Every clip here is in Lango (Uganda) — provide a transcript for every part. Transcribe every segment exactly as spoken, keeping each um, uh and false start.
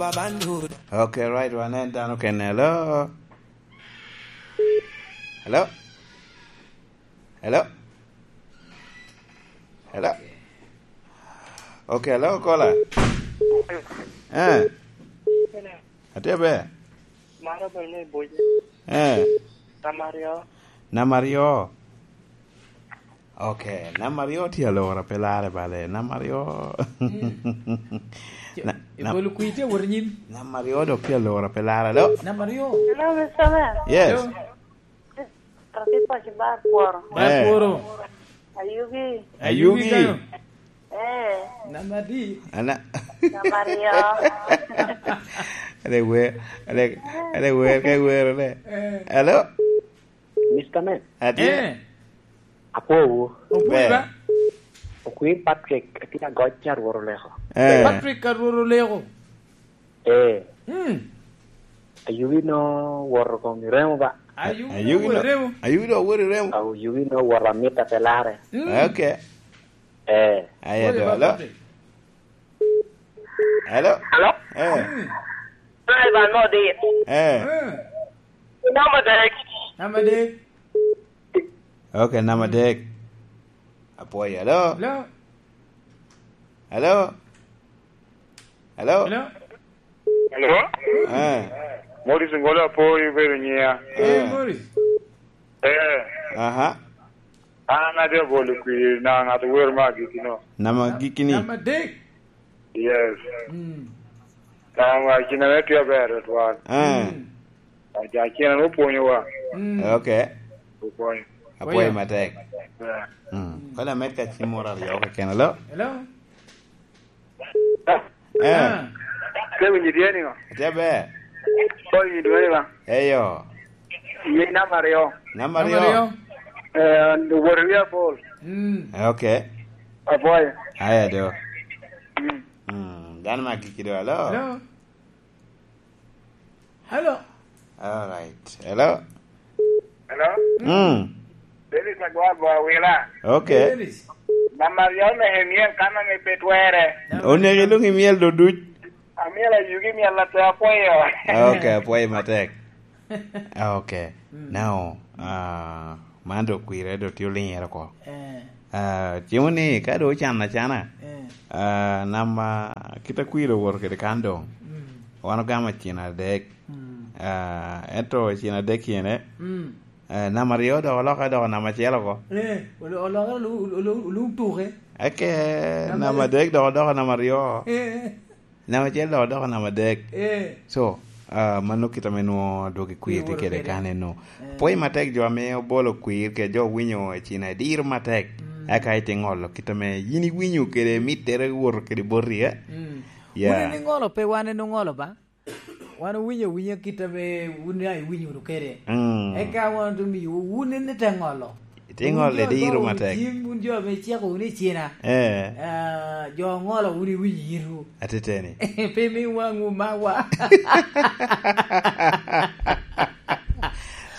Okay, right, wanen dano kene. Hello? Hello? Hello? Hello? Okay, hello, caller. Eh, atye ber. Maro bene ni buc. Eh, Namba aryo. Namba aryo. Okay, namba aryo tye alora pe larre bale. Namba aryo. Mm. Na-, I na-, bolo kwir tye wot nyim. Namba aryo dok tye alora pe larre do. Namba aryo. Hello, Mister Man. Yes. Hello. Kaki paci bar kworo. Bar Eh. kworo. Ayugi. Ayugi. Ayugi kano. Eh. Namba adi? Ana- Namba aryo. Ane wer, ane, ane wer ka iwero ne. Eh. Hello? Mister Man. Atye. Eh. Apwowu. Opwoyi Ber. Ba? Okwir Patrick, atye agoc a Rwot oleko. Eh. Patrick a Rwot oleko. Eh. Hmm. Ayugi no woto kong i remo ba. Ayugi Ayugi no no, remo. Ayugi no woto i remo. Ayugi no woto amita pe lare. Hmm. Okay. Eh. Aya Woto do, ba hello? Patrick. Hello? Hello? Eh. Hmm. Driver no dit. Eh. Hmm. Namba adek. Namba adek. Okay, namba adek. Apwoyo, hello? Hello? Hello? Hello? Hello? Hello? Eh. Morris Ngolo Apoyo bedo nyiya. Eh, Eh. Morris. Eh. Aha. An atye abolo kwir na ŋat wer me agikki no. Namba agikki ni? Namba adek. Yes. Mm. Namba agikki na tye aber twal. Eh. Mm. Aja cina no pwonyowa. Mm. Okay. Opwonyo. Apwoyo Oya. Matek. Yeah. Mm. Kono amed ka cim moro aryo keken, hello? Hello? Eh. Ah. Ke winyi tye ni ŋo? Tye ber. Ko winyi dwe ni ba? Eyo. Ye namba aryo. Namba Namba aryo. Aryo. Eh, wot wi apol. Mm. Okay. Apwoyo. Aya do. Mm. Mm. Dano ma giki do, hello? Hello? Hello? All right. Hello? Hello? Mm. Dennis Agwagwa Wila. Okay. Dennis. Namba aryo Nehemia kan ame pe twere. Oneko ilung i myel do duc. Amiel ayugi myel ate apwoyo. Okay, apwoyo matek. Ah, okay. Mm. Now, ah, man do kwire do tye oliŋere oko. Eh. Ah, cimo ni ka do ocan acana, eh, ah, namba kit a kwire owoto kede kan doŋ. Mm. Wan ogamo cin adek. Mm. Ah, ento cin adek yene, mm, eh, namba aryo dok oloko doko namba acel oko. Eh, olo-, oloko olu-, olu-, olu-, olu tuke. Eke, namba namba adek dok odoko namba aryo. Eh. Namba acel dok odoko namba adek. Eh. So, ah, mano kit ame nwo dwogi kwir tye kede kede kan eno. Eh. Pwoyo matek jo ame obolo kwir kede jo owinyo i cina diro matek. Mm. Eka ite ŋolo kit ame yin iwinyo kede mittere woto kede boti, eh? Mm. Yeah. Wun en iŋolo pe wan en oŋolo ba? Wan owinyo awinya kit ame wun ya iwinyo wunu kede. Mm. Eka wan ote miyo wun en ite ŋolo. Ite ŋolo diro matek. Wun jo ame iciko wunu i cina. Eh. Ah, jo oŋolo wun iwinyo yitwu. Ateteni. Pe mi waŋwu mawa.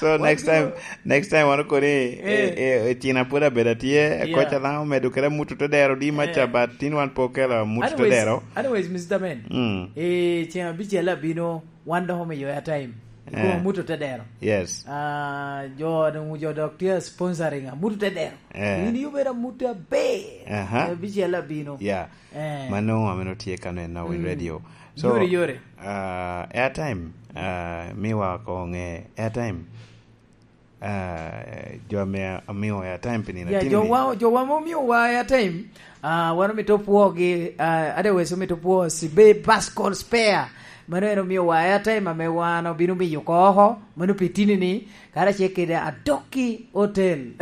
So, next time, next time wan okoni, eh, eh, eh, cina pwod abedo atye, yeah, koca na omedo kede amut te dero di maca, eh, but tin wan pe okelo amut te dero. Anyways, Mister Man, mm, eh, ceng abicel abino, wan dok omiyo airtime. Eh. Ikom amut te dero. Yes. Ah, jo, jo dok tye sponsoring amut te dero. Eh. In ibedo amut aber. Aha. Ceng abicel abino. Yeah. Eh. Mano ameno tye ka neno in, mm, radio. So, yore, yore. Ah, airtime, ah, miwa ko ŋe airtime. Ah, jo ame amio airtime pi nino. Yeah, atini ni. Jowa, jowa ma omiowa airtime, ah, wan omito pwogi, ah, otherwise omito pwo Sibe Bus Call Spare. Mano en omiowa airtime ame wan obino miyo oko oko, mano pi tini ni, karacel kede Adoki Hotel.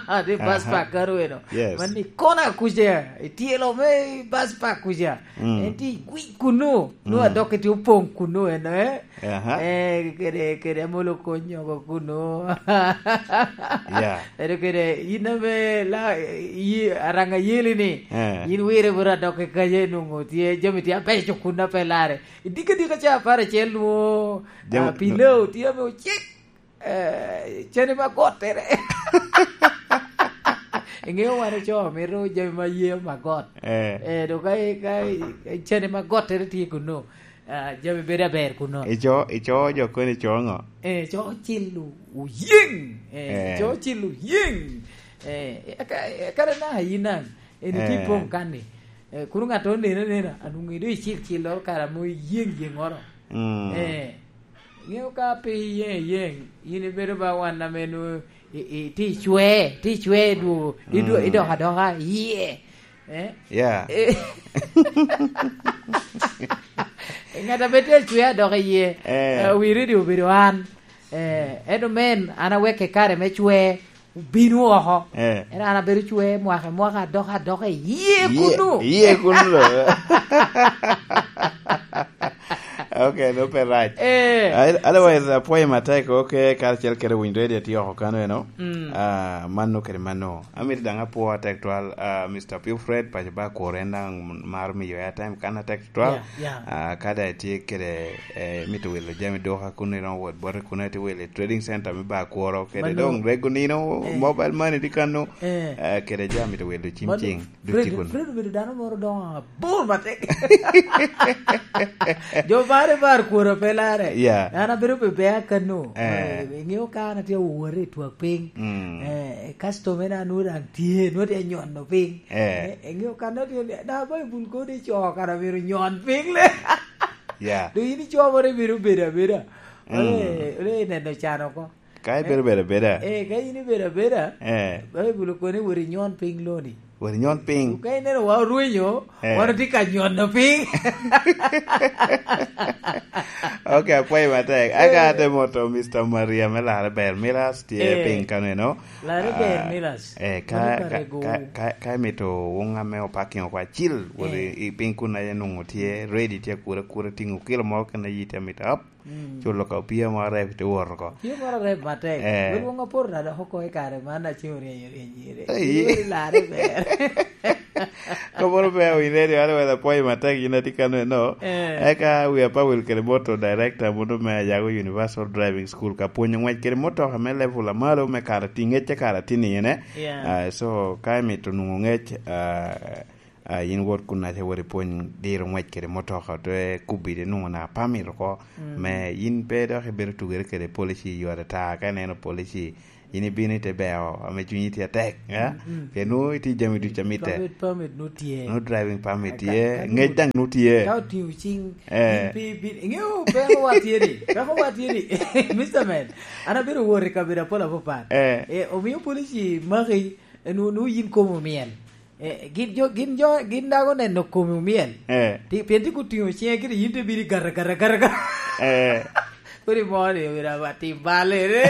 Ate bus, aha, park kano eno. Yes. Man i kona kuca, i tyelo me bus park kuca. Mm. En tye i gwic kunu, nwo, mm, Adoki tye opoŋ kunu eno, eh? Aha. Eh, kede, kede Amolo Konyogo kunu. Yeah. Eno kede, in ame la, yi, Aranga Yeli ni, eh, in wire bot Adoki kaca inwoŋo tye, jami tye abeco kunu ape lare. Idika dika ca apar acel nwo, jam-, ah, Pilau tye ame ocek, eh, cene ma gottere. Iŋeo wan oco mito jami ma ye ma got. Eh. Eh, dok ka, ka, cene ma gottere tye kuno. Ah, jami bedo aber kuno. Ico, ico jo kono ico ŋo? Eh, co cil oyeŋ. Eh, Eh. co cil oyeŋ. Eh, aka-, kare na yin an, en itye Eh. poŋ kan-ni. Eh, kun ŋat oneno anena, anwoŋo ido icil cilloro kare ame oyeŋ yeŋoro. Mm. Eh, ŋeo ka pe iyeŋ iyeŋ, yin ibedo ba wan ame nwoŋo i, i, ti cwe, ti cwe dwo, idwo, Mm. idok adoka, iye. Eh? Yeah. Eh. Ŋat a pe tye acwe adok iye, Eh. eh, wi redio obedo an. Eh, ento men, an aweke kare me cwe, obino oko. Eh. Ento an abedo cwe mwaka, mwaka adok, adok iye Ye, kunu. ye kunu lo. Ok, no pe rac. Eh. Al-, otherwise, apwoyo matek, ok, karacel kede winyo redio tye oko kano eno. Mm. Ah, mano kede mano. Amito daŋ apwo atek twal, ah, Mister Pio Fred, paco ba kuro en daŋ maro miyo airtime kan atek twal. Yeah, yeah. Ah, ka daŋ itye kede, eh, mito wilo jami duka kun iromo wot bote kun itye wilo i trading center me ba kuro kede Mano. doŋ rego nino, Eh. mobile money tye kano, Eh. eh, kede jami mito wilo cim Mano, cing, duc Fred, tye kun. Fred obedo dano moro doŋ abor matek. Jo bare bar kuro pe lare. Yeah. An abedo pe bea kano. Eh. Eh, iŋeo ka an atye awore i twak piny. Mm. Eh, customer na nwoŋo daŋ tye, nwoŋo tye nyono piny. Eh. Eh, iŋeo kan nwoŋo tye, na Baibul kono ico kara myero nyon piny le. Yeah. Dong yin ico moro ibino bedo abeda. Mm. Ole, ole neno can oko. Ka ibedo bedo abeda. Eh, ka in ibedo abeda, Eh. Baibul okoni wot inyon piny loni. Wot inyon piny. Ka ineno wa orwenyo, Eh. wan otye ka nyono piny. Ok, apwoyo matek. Aka Eh. ate moto Mister Maria me Larre Ber Milas tye Eh. piny kano eno. Larre Ber Ah, Milas. eh, ka, Mano ka, kare go. ka, ka, ka imito wun ame opaking oko acil, wot Eh. i, i piny kun aye nwoŋo tye, ready tye akura akura, tingo kilo mo kene yi tye amito ap, Mm. culo ka opia mo arep te wot oko. Opia mo arep matek. Eh. Wel wong aporo na dok oko i kare man, aceng oryenyo oryenyo ire. Ei. Wel Larre Ber. Kobo ber owinyo ready, an wela apwoyo matek, yin atye kano eno. Eh. Eka wi apa wil kede moto director mono me Ayago Universal Driving School ka pwonyo ngwec kede motoka me level a malo me kara ti-, ngecce kara tini ene. Yeah. Ah, so, ka imito nwoŋo ngec, ah, ah, in wot kun aca wot ipwony diro ngwec kede motoka, te kubbi de nwoŋo na permit oko, Mm. me in pe dok ibedo tugere kede policy yot ata, ka ineno policy, in ibino ite beo, ame cunyi tye atek, eh? Mm, mm. Pien nwoŋo itye jami ducu a mitte. Permit, permit nwoŋo tye. Nwoŋo driving permit Ka, tye, ka, ka ngec nwoŋo daŋ nwoŋo tye. Ka otiŋo cing, Eh. in pe ibin-, iŋeo peko wa tye ni, peko wa tye ni, Mister Man, an abedo wot i kabedo apol apapat. Eh. Eh, omio policy maki, eh, nwoŋo, nwoŋo yin komi omyel. Eh, gin jo, gin jo, gin dago neno komi omyel. Eh. Ti-, pien tye kotiŋo ciŋe kede yin te bino i gata, gata, gata, gata. Eh. Kodi mo ni, "Wira ba tim balere."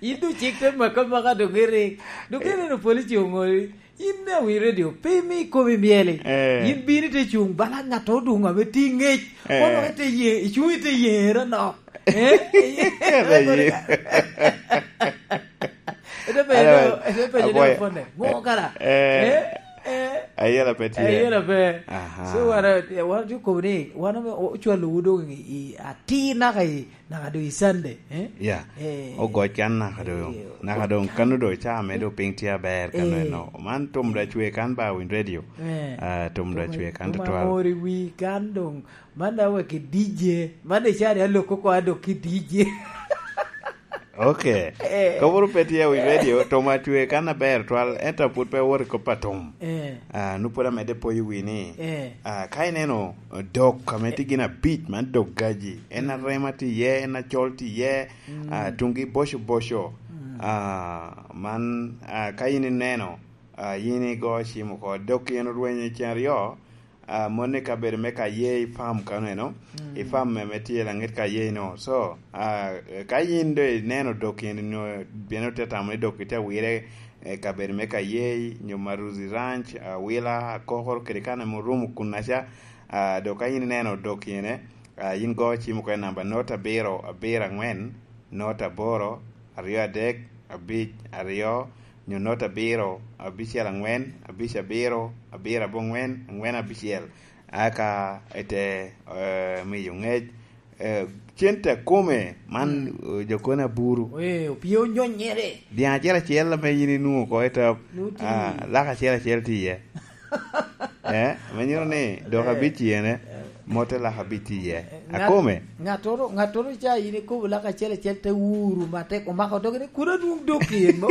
Yin doŋ cik te maka maka doŋ irik. Doŋ ka ineno police oŋoli, yin me awiny redio, pe imi komi myel-li. Eh. Yin bino ite cuŋ bala ŋat oduŋ ame tye i ŋec. Eh. Kono ite ye-, icuŋ ite yero nok. Eh? Ite penyo Alo, ni, ite penyo ni apwoyo. Opone. Ŋo kara? Eh. Eh? Eh? Ayela pe tye. Ayela pe. Aha. So, wan, wan ocobo ni, wan ame o-, ocwalo wu doŋ i, i atir naka i, naka doŋ i Sunday, eh? Ya. Eh. Ogoc kan naka doŋ, Eh, naka doŋ kano doŋ ca me doŋ piny tye aber kano Eh. eno. Man tum da cwe kan ba winy radio. Eh. Ah, tum da Tum, cwe kan tum tutwal. Amor i wi kan doŋ. Man da wek i D J. Man i cari aloko ko adok ki D J. Ok. Eh. Koburu pe tye wi radio, tum acwe kan aber twal, ento pud pe wot i kop atum. Eh. Ah, nu pwod amedde poyo wi ni, Eh. ah, ka ineno dok ame tye gin abic, man dok gaji, en arema tye iye, en acol tye iye, Mm. ah, tungi boco boco. Mm. Ah, man, ah, ka in ineno, ah, in igo cim oko, dok in orwenyo i cen aryo, ah, moni i kabedo me ka ye i farm kano eno, Mm. i farm me, me tye laŋet ka ye ino. So, ah, ka yin do ineno dok in ino, pien ote tamo ni dok ite wire, eh, kabedo me ka ye, nyo Maruzi Ranch, Awila, Akokoro, kede kan ame orumo kun aca, ah, dok ka yin ineno dok ine, ah, yin go cim oko i namba not abiro, abiro angwen, not aboro, aryo adek, abic, aryo, nyo not abiro, abicel angwen, abic abiro, abiro abongwen, angwen abicel. Aka ite, eh, miyo ngec, eh, cente akome, man, Mm. eh, jo kone aburu. Eh, opye onyonyere. Dyaŋ acel acel ame yin inwoŋo oko i top, Nuti. ah, lak acel acel tye iye. Eh, ame nyuto ni dok Eh. abic iyene. Mote lak abic tye iye. Eh, ngat-, akome. Ngattoro, ngattoro ca in ikobo lak acel acel te wuru matek, omako doge ni, "Kun anwong dok in mo?"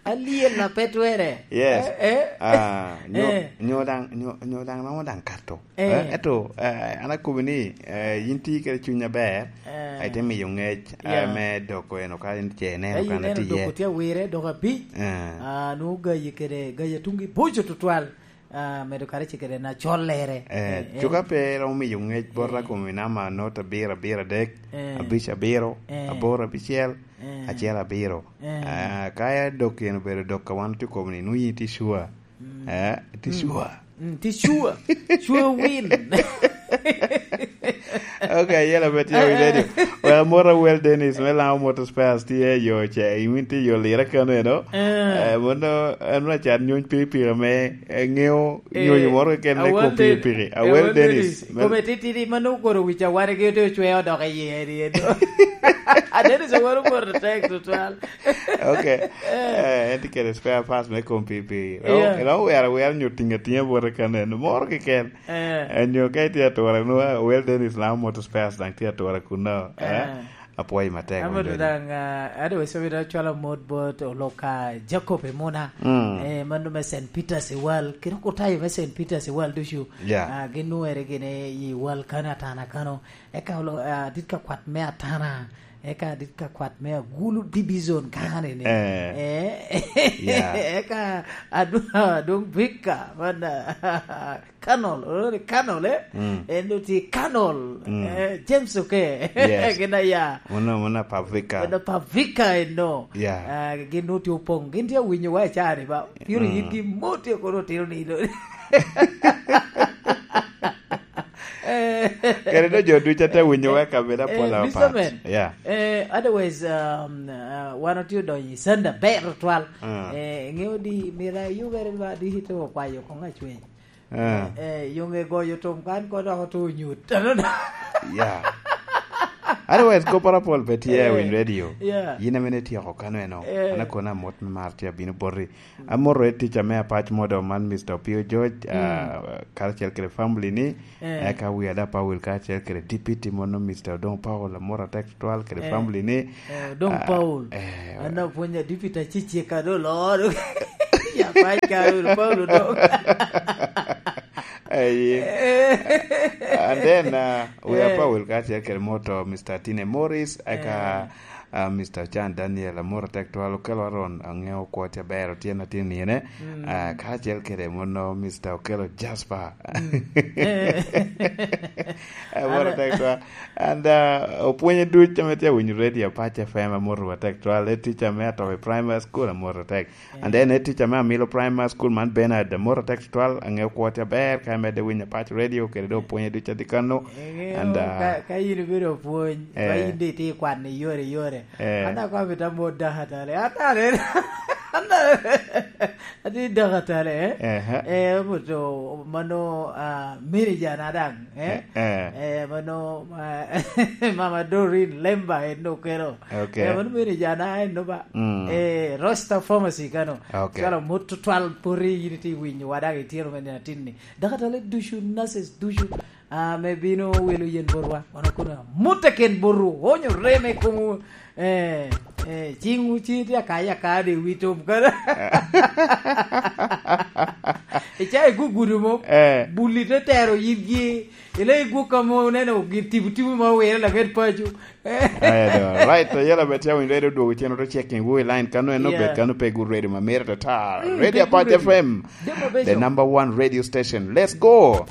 Alyel na pe twere. Yes. Eh, eh. Ah, nyo, Eh. nyo daŋ, nyo, nyo daŋ romo daŋ kato. Eh. Eh, eto, eh, an akobo ni, eh, yin tye kede cuny aber, Eh. ai te miyo ngec, eh, Yeah. me doko eno ka in ce ineno Ai, kan ineno atye iye. Doko tye awire, doko abic. Eh. Ah, nwoŋo gayi kede, gayi atungi boco tutwal. Ah, medo kare ci kede na collere. Eh, Eh, eh. cuka pe romo miyo ngec bot Eh. akome namba not abiro, abiro adek, Eh. abic abiro, Eh. aboro abicel, Eh. acel abiro. Eh. Ah, ka ya dok yen obedo dok ka wan tye kobo ni, nwoŋo yin tye sure. Mm. Eh, tye Mm. sure. Mm, tye sure. Sure win. Ok, yela bet ya wi radio. Well, moro Well Dennis, me Lango Motor Spares, tye yo ce, iwin tye yo lira kano eno. Eh. Eh, mono, en na cat nyony pikipiki ame, eh, ŋeo Eh, nyonyo moro keken me Awal kom Dennis. pikipiki. Awal Awal Dennis. Dennis. Me Kome titidi, mano okoro wic aware gi ote ocweo dok i yie, eri, eri. A Dennis owaro moro tek tutwal. Ok. Eh. Eh, en tye kede spare parts me kom pikipiki. Romo, Yeah. romo wero awera nyo tingo atinga bote ka neno. Moro keken. Eh. Eh, nyo ka itye atura, nwa Well Dennis Lango Motor Spares daŋ tye atura kuno. Eh. Eh. Apwoyo matek, Amadu Wendo. Daŋ, ah, ado wes obedo acwalo mot bot Oloka Jacob Emuna. Mm. Eh, mano me Saint Peter's i Wal. Kiro kutayo me Saint Peter's i Wal ducu. Yeah. Ah, gin nwere gini i Wal kano atana kano. Eka olo-, ah, dit ka kwat me atana. Eka dit ka kwat me Agulu Division kano ni. Eh. Eh. Yeah. Eka adu-, adwoŋ Victor, man, ah, Kanol, oloro ni Kanol, eh? Mm. En do tye Kanol, Mm. eh, James Oke. Yes. Gin aya. Mano, mano Pavika. Mano Pavika eno. Yeah. Ah, gin do tye opoŋ. Gin tye awinyo wa i cari ba. Piro Mm. yitgi mot tye kono otino ni do. Eh. Kere do jo ducu ate winyo wa kabeda Eh, pol apat. Mister Man, Yeah. eh, otherwise, um, uh, wan otye odonyo i Sanda ber otwal. Mm. Eh, ŋeo di mira yubere ba di hito okwayo koŋ acweny. Eh. Eh, eh, yoŋe goyo tom kan ko dok oto nyut. Ano na? Yeah. Otherwise, kopara pol pe tye Eh, win radio. Yeah. Yin amene tyeko kano eno. Eh. An akona mot me mar tye abino boti. Amoto i tica me apac modo man, Mister Opio George, Mm. ah, karacel kede family ni. Eh. Eka wi ada Paul karacel kede Deputy mono, Mister Odong Paul, amoto atek tutwal kede Eh. family ni. Eh, Odong Ah, Paul. eh. An apwonyo Deputy acicika do lor. Ya apac ka Paul Odong. Aye. Eh. And then, uh, we are Eh. Powell kacel kede moto, Mister Tine Morris, eka, Eh. uh, Mister Chan Daniel, amoro tek twal, Okello Aaron, aŋeo kwo tye aber, Otyeno Atin Niene, Mm. uh, kacel kede mono, Mister Okello Jasper. Mm. Eh. Amoro Ana- tek twal. And, uh, opwonye duc ame tye winyo radio Apac F M, amoro wa tek twal, e teacher me Atobi Primary School, amoro tek. And then, eh, teacher me Amilo Primary School man, Bernard, amoro tek tutwal, aŋeo kwo tye aber, ka imedde winyo Apac Radio, kede do opwonye duc adi kano. Eŋeo, And, uh, ka, ka in ibedo opwony, eh. Ka in de itye kwan i yore, yore. Eh. An akwano bita mo daka tale. Atale. Atye daka tale, eh? Ehe. Eh, obuto mano, ah, manager na daŋ, eh? Eh, eh. Eh, mano, ah, Mama Doreen Lemba en okelo. Okay. Eh, mano manager na en no ba. Mm. Eh, Roster Pharmacy kano. Okay. Cwalo mot tutwal poti yin iti winyo wa daŋ itino me nino atin ni. Dakatale ducu, nurses ducu, ah, me bino wilo yen botwa. Wan okono mut eken botwu. Onyo reme komo, eh, eh, cingwu ci tye akaya akaya de wi tom kano. Ica igugudu mo. Eh. Buli te tero yibgi. Ile igwok ka mo neno gin tipo tipo ma owire laget paco. Aya do. Right, to yela bet ya winyo redo dwogo cen oto checking wu i line kano eno Yeah. bet kano pe gu ready ma mere to ta. Mm, ready pe gu Apac ready. F M. Demo bejo. The number one radio station. Let's go.